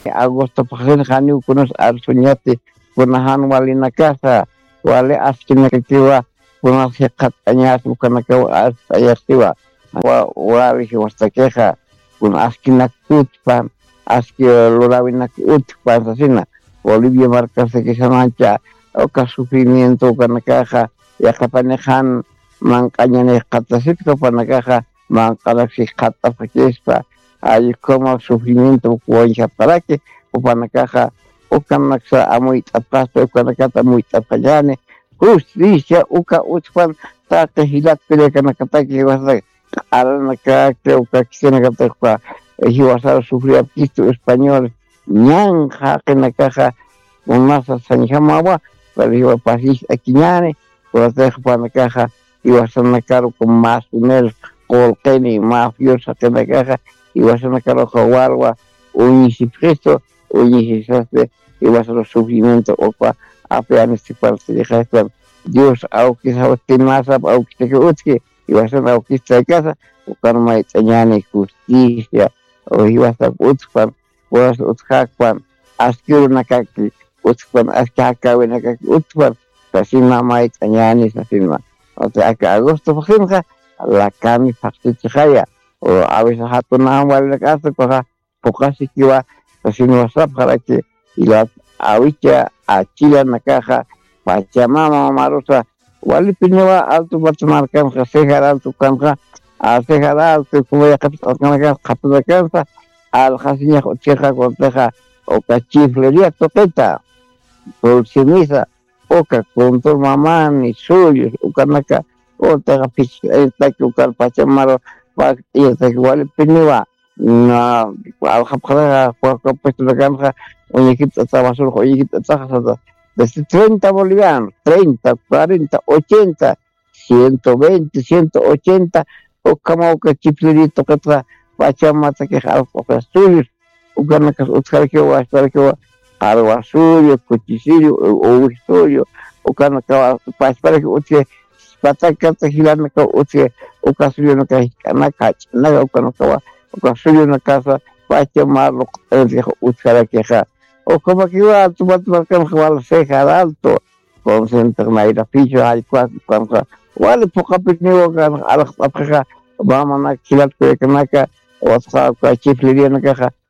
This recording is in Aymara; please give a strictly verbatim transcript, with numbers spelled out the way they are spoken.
Agosto phaxsin janiw kunas arsuñati, kuna jan walinakasa, wali askinakakiwa, kunas jiqat'añas ukanakaw arsuñasiwa. Wali jiwastakixa, kuna askinak utpan, aski lurawinak utpan sasina. Bolivia markasaki sanancha, uka sufrimiento ukanakaxa, yaqapanixan manq'añanix qatasitka upanakaxa, manq'anak sijqat'apxakispa, allkuma sufrimiento ukawañjapxaraki, upanakaxa ukanaksa amuyt'apxaspa, ukanakata amuyt'apxañani, justicia uka utjpan, taqi jilat peleakanakataki jiwasataki, q'aranakaki, uka kisinakataki, jiwasar sufriapkistu español, ñan jaqinakaxa, kunasa sañjamawa, pero jiwa pasist'akiñani, kunatix panakaxa, jiwasanakar uka masumel, qulqini, mafioso jaqinakaxa, jiwasanakar uka warwa, uñisipxistu, uñisisasti, jiwasan sufrimiento upa, apianistipar sirixastan, Dios awkis awkimasap awkisaki utki, jiwasan awkis chaykasa, ukan mayt'añani justicia, o jiwasap utpan, puras utjakpan, aski urunakaki utpan, aski jakawinakaki utpan, sasima mayt'añani sasima. O sea, aka agosto phaxsinxa, lakani phaxsichixaya, o a veces jatunawan walinakasa, ukaxa, puqasikiwa, sasin wasapxaraki, jilat awicha achilanakaxa, Pachamama marusa, walipiniwa Alto Mata markanxa, Cejar Alto kanxa, a Cejar Alto, como yaqapis q'asqanakansa, qhapanakansa, alxasiñax utjixa, kuntixa, uka chiflería tuqita, Dulce Misa, uka kuntur mamani, suyus, ukanaka, kuntixa phichhitaki, ukan Pachamamaru, pakt'iyataki, walipiniwa, na, alxapxaraxa, puestunakanxa, uñikipt'ata, basurux uñikipt'ataxa sata. Desde treinta bolivianos, treinta, cuarenta, ochenta, ciento veinte, ciento ochenta, ukhama uka chifliri tuqitxa, Pachamamatakix alxapxaxa suyus, ukanakas utjarakiwa, wasparakiwa, qarwa suyu, kuchi suyu, uwi suyu, ukanakawa pasparaki utji, patakata jilanakaw utji, uka suyunaka jik'anaka, jach'anaka, ukanakawa, uka suyunakasa, Pachamamar luqt'ankix utjarakixa. Ukhamakiwa Alto Mata markanxa, wal Cejar Alto, Consciente Nayra Pichu, jallkuwas, ukanxa, wali phuqapiniwa kan, alxt'apxixa, mamanak, jilat kullakanaka, utxa uka chiflirianakaxa,